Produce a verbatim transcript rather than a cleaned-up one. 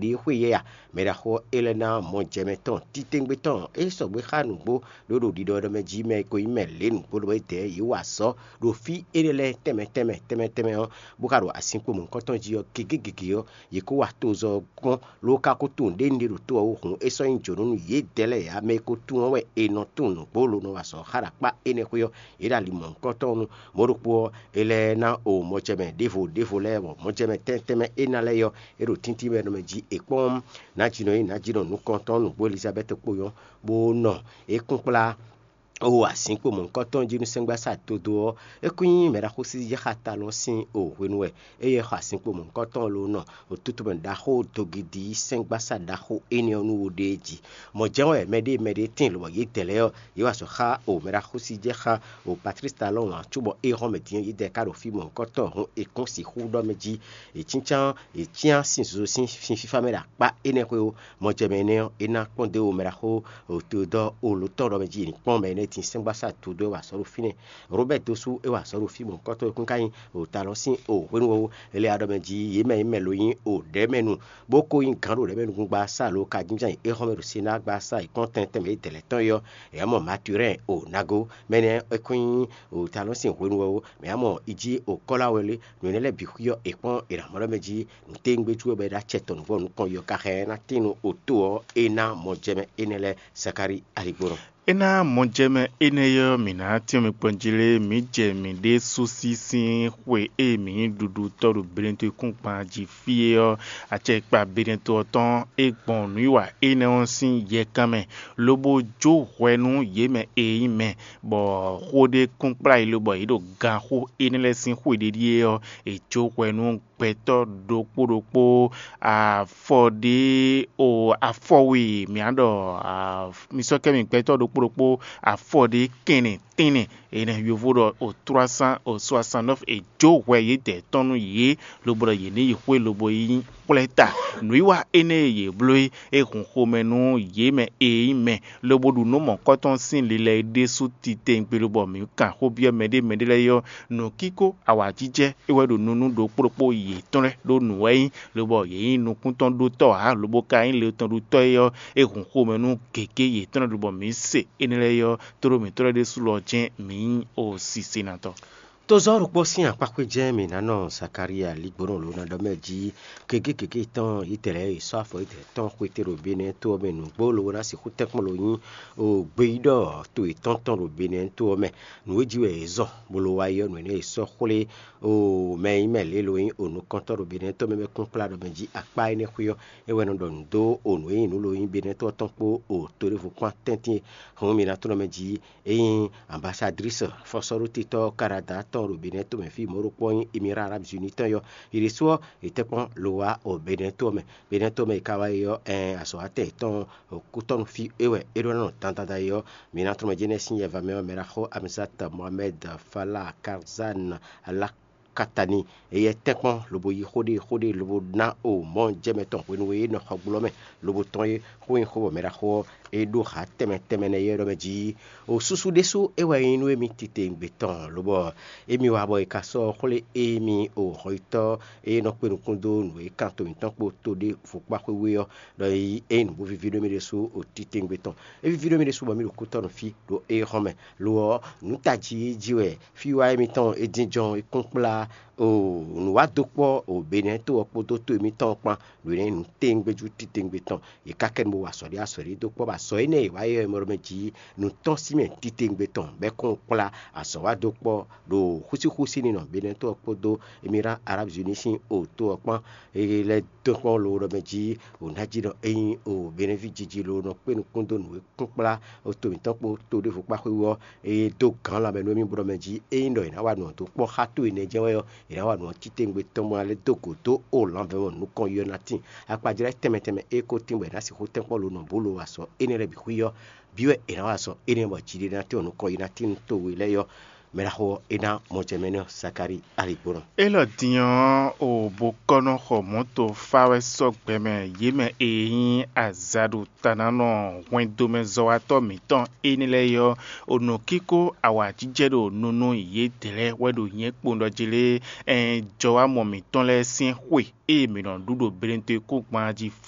ɖi xwé yɛ a? Mɛ ɖaxó ɔ́, é lɛ́ ná mɔjɛmɛ tɔn titewungbe tɔn e sɔgbe xá nǔgbó ɖó ɖo ɖiɖɔ ɖɔ mɛ jí mɛ e ko nyí mɛ lě nǔgbó ɖɔ é dɛ̌ yě wa azɔ̌ ɖo fí énɛ́ lɛ́ɛ tɛnmɛ tɛnmɛ tɛnmɛ tɛnmɛ ɔ́, bó ka ɖo asinkpo mɔ̌hunkɔtɔn jí ɔ́, gěgé gěgé ɔ́, yě kó wa tozɔ́ ɔ́ gɔ́n, ló ka ko tunwun ɖě un ɖe ɖo tó ɔ́ wú hǔn, é sɔ́ nyí jǒnɔ nú yědɛɛ lɛ́ɛ ǎ. Mɛ e ko tunwun ɔ́ wɛ è nɔ tunwun nǔgbó lobo nɔ wa azɔ̌ xá ɖo akpá énɛ́ xwé ɔ́, yě ɖo ali mɔ̌hunkɔtɔn nu. Mɔ̌ ɖokpó ɔ́, é lɛ́ ná o mɔjɛmɛ ɖěvo ɖěvo lɛ́ɛ, bɔ mɔjɛmɛ tɛ́ntin tɛ́nmɛ éná lɛ́ɛ ɔ́, é ɖo tíntín mɛ nɔ mɛ jí è kpɔ́n nǎjínɔ e nǎjínɔ nukɔntɔn nǔgbó Elizabɛ́ti kpo ɔ́, bó nɔ é kún kplá o azǐn kpo mɔ̌hunkɔtɔn jí nú sɛ́ngbásá dodó ɔ́, é kún nyí mɛɖaxósízɛ́xatalɔ́ sín o hwenu wɛ éyɛ́ xɔ azǐn kpo mɔ̌hunkɔtɔn ló nɔ otutumɛ ɖaxó dogidi sɛ́ngbásá ɖaxó énɛ́ ɔ́ nú wo ɖée jí. Mɔ̌ jɛ́n wɛ mɛɖée mɛɖée tíin lobɔ yědɛɛ lɛ́ɛ ɔ́, yě wa azɔ̌ xá o mɛɖaxósíjɛ́xá o Patlísi ta lɔ́ wǎn cóbɔ é hɔn mɛ din ɔ́, yědɛɛ ka ɖo fí mɔ̌hunkɔtɔn hǔn è kɔ́n sixú ɖɔ mɛ jí è cíncán è cyán sin zozo sín fínfífá mɛ ɖo akpá énɛ́ xwé ó. Mɔjɛmɛ énɛ́ ɔ́, é ná kpɔ́n dó o mɛɖaxó Teodɔ́ɔ Olotɔ́ ɖɔ mɛ jí è ní kpɔ́n mɛ énɛ́ din sɛ́ngbásá dodó e wa azɔ̌ ɖo fínɛ́. Robɛ́ɛ dó sú é wa azɔ̌ ɖo fí mɔ̌hunkɔtɔn e kún ka nyí o talɔn sín o hwenu ɔ́, Elea ɖɔ mɛ jí yě mɛ nyí mɛ lo nyí o ɖɛ̌mɛnu, bó ko nyí gǎn ɖo ɖɛ̌mɛnukúngbasá alo kajínjɔ́n e é xɔ́n mɛ ɖo Senáa gbasá e kpɔ́n tɛntɛn mɛ yědɛɛ lɛ́ɛ tɔn é ɔ́, è wǎ mɔ Maturɛ́n o nago, mɛ énɛ́ é kún nyí o talɔn sín hwenu ɔ́ ó, mɛ wǎ mɔ Ijí o Kɔ́lawɛlé, nǔ énɛ́ lɛ́ɛ bǐ xwí ɔ́, è kpɔ́n è nǎ mɔ ɖɔ mɛ jí nǔtɛ́wúngbéjú ɔ́ bɔ é ɖo acɛ tɔn nǔgbó nukɔn yɔ ka xá ɛ ná tín nú oto ɔ́, é ná mɔjɛmɛ énɛ́ lɛ́ɛ Sakáli aligbónɔ. É ná mɔjɛmɛ énɛ́ ɔ́, mǐ ná tɛ́n mi kpɔ́n jí lé, mǐ jɛ mǐɖée sú sí sín xwe e mǐ nyí ɖuɖutɔ́ ɖo Benɛtɔ́ kúngban jí fí é ɔ́, acɛkpa Benɛtɔ́ ɔ́ tɔn é gbɔn nǔwiwa énɛ́ ɔ́ sín yɛkan mɛ, lobo jó hwɛ nú yě mɛ e nyí mɛ, bɔ xó ɖé kún kplá yi lobɔ yě ɖo ganxó énɛ́ lɛ́ɛ sín xwe ɖé ɖíe ɔ́, è jó hwɛ nú gbɛtɔ́ ɖokpó ɖokpó afɔ ɖé o afɔwe, mǐ á ɖɔ mi sɔ́ kɛ mi gbɛtɔ́ ɖokpó ɖokpó afɔ ɖé kɛnɛ tɛ́nnɛ, enɛ yovo ɖɔ o trois cent o soixante-neuf, è jó hwɛ yědɛɛ tɔn nú yě, lobo ɖɔ yě ní yi xwé lobo yi kplɔ́ ɛ ta. Nǔwiwa énɛ́ e yě bló é, é hun xomɛ nú yě mɛ e nyí mɛ, lobo ɖu nǔ mɔ̌kɔtɔn sín lilɛ é ɖésú titewungbe, lobo mǐ kan xó byɔ́ mɛɖé mɛɖé lɛ́ɛ ɔ́, nǔkíkó awǎjijɛ é wɛ ɖo nunu ɖokpó ɖokpó yětɔn lɛ́ɛ ɖó nǔ wɛ nyí, lobɔ yě nyí nukúntɔ́ ɖótɔ́ ǎ, lobo ka nyí le tɔn ɖutɔ́ é ɔ́, é hun xomɛ nú gěgé yětɔn lɛ́ɛ, lobɔ mǐ se énɛ́ lɛ́ɛ ɔ́, tlóló mǐtɔn lɛ́ɛ ɖésú lɔ jɛ́n mǐ nyí o sisinatɔ́. Tozɔ́ ɖokpó sín akpákpé jɛ́n mǐ ná nɔ Zakalía ligbónɔ lǒ ná ɖɔ mɛ jí gěgé gěgé tɔn Izlayɛ́li sɔ́ afɔ Izlayɛ́li tɔn xwetɛ́ ɖo Benɛ́ to ɔ́ mɛ nǔgbó lobo ná sixú tɛ́nkpɔ́n lo nyí o gbeyíɖɔ to yětɔn tɔn ɖo Benɛ́ to ɔ́ mɛ. Nǔ e jí wɛ yě zɔ bó ló wá yi ɔ́, nǔ énɛ́ e sɔ́ xwlé o mɛ e nyí mɛ lě lo nyí o nukɔntɔ́ ɖo Benɛ́ to mɛ bɔ é kún kplá ɖɔ mɛ jí akpá énɛ́ xwé ɔ́, é wɛ nɔ ɖɔ nǔ dó o nǔ e nyí nǔ lo nyí Benɛ́ to ɔ́ tɔn kpó o to ɖěvo kpán tɛ́ntin e hɔn mǐ ná tlɔ́n mɛ jí é nyí ambasadlísɔ fɔ́sɔ́ɖótitɔ́ Kanada tɔn ɖo Benɛ́ to mɛ fí mɔ̌ ɖokpó ɔ́ nyí Emirá Arábizuni tɔn yɔ. Yě ɖésú ɔ́, yě tɛ́nkpɔ́n lo wá o Benɛ́ to ɔ́ mɛ. Benɛ́ to mɛ e ka wá yi ɔ́, ɛn azɔ̌watɛn yětɔn kútɔ́nú fí é wɛ é ɖó ná nɔ dandan da é ɔ́, mǐ ná tlɔ́n mɛ jɛ́nɛ́ sín yɛva mɛ ɔ́, mɛ ná xo Amizat Mohamed Falah Karzan Alakatani, éyɛ́ tɛ́nkpɔ́n lobo yí xó ɖé xó ɖé lobo ná o mɔ̌ jɛmɛ tɔn hwenu e é nɔ xɔgblo ɔ́ mɛ, lobo tɔ́n é xó nyi xó bɔ mɛ ɖaxó ɔ́, é ɖó ha tɛnmɛ tɛnmɛ nɛ́ yɛ ɖɔ mɛ jí. O súsú ɖésú é wɛ nyí nú émí titewungbe tɔn, lobɔ émí wa bɔ è ka sɔ́ xwlé émí o hɔnyitɔ́ e nɔ kpé nukún dó nǔ e kan to mǐtɔn kpó to ɖěvo kpá xwé wú é ɔ́, ɖɔ é nyí nǔ bó víví ɖó mì ɖésú o titewungbe tɔn. É víví ɖó mì ɖésú bɔ mì ɖo kútɔ́ nɔ fí ɖo éhɔ́n mɛ. Lo ɔ́, nǔ tají jí wɛ fíwá émítɔn e jínjɔ́n é kún kplá o nǔwádókpɔ́ o Benɛ́ to ɔ́ kpódó to émítɔn ɔ́ kpán, ɖo é ná nyí nǔ tewungbejú titewungbe tɔn. Yě ka kɛ nu bó wa azɔ̌ ɖé azɔ̌ ɖé dó kpɔ́ bɔ azɔ̌ énɛ́ e è wǎ é ɔ́, è mɔ ɖɔ mɛ jí nǔ tɔ́n sín mɛ titewungbe tɔn bɔ é kɔn kplá azɔ̌wádókpɔ́ ɖo xúsíxúsí ninɔ Benɛ́ to ɔ́ kpódó Emirá Arábizuni sín o to ɔ́ kpán. É lɛ́ dó kpɔ́n lo ɖɔ mɛ jí o ná jí ɖɔ ényí o Benɛ́ ví jiji lo nɔ kpé nukún dó nǔ e kún kplá o to mǐtɔn kpó to ɖěvo kpá xwé wú ɔ́, é dó gǎn lanmɛ nú émí bó ɖɔ mɛ jí ényí ɖɔ è nǎ wa nǔ ɔ́ dó kpɔ́ xá to énɛ́ jɛ́n wɛ ɔ́, è nǎ wa nǔ ɔ́ titewungbe tɔn bɔ ná lɛ́ dó gǒ dó o lanvɛ́ mɔ nukɔn yi ɔ́ ná tíin. Akpajlɛ́ tɛnmɛ tɛnmɛ e ko tín bɔ è nǎ sixú tɛ́nkpɔ́n lo nɔ bó lo wa azɔ̌ énɛ́ lɛ́ɛ bǐ xwí ɔ́, bǐ wɛ è nǎ wa azɔ̌ énɛ́ bɔ jiɖiɖe ná tín bɔ nukɔn yi ná tín nú towe lɛ́ɛ é ɔ́, Mɛ ɖaxó ɔ́, é ná mɔjɛmɛnɔ Sakáli aligbónɔ. Élɔ́ din ɔ́, o bo kɔ́ nɔ xɔ mɔ̌to fá wɛ sɔ́ gbɛ mɛ yě mɛ e nyí azǎɖutanánɔ hwɛndomɛzɔ́watɔ́ mǐtɔn énɛ́ lɛ́ɛ é ɔ́, o nɔ kíkó awǎjijɛ ɖo nunu yědɛɛ lɛ́ɛ wɛ ɖo nyɛ̌ kpowun ɖɔ jí lé, ɛn jɔwámɔ mǐtɔn lɛ́ɛ sín xwe e mǐ nɔ ɖu ɖo Belentoekúngban jí fí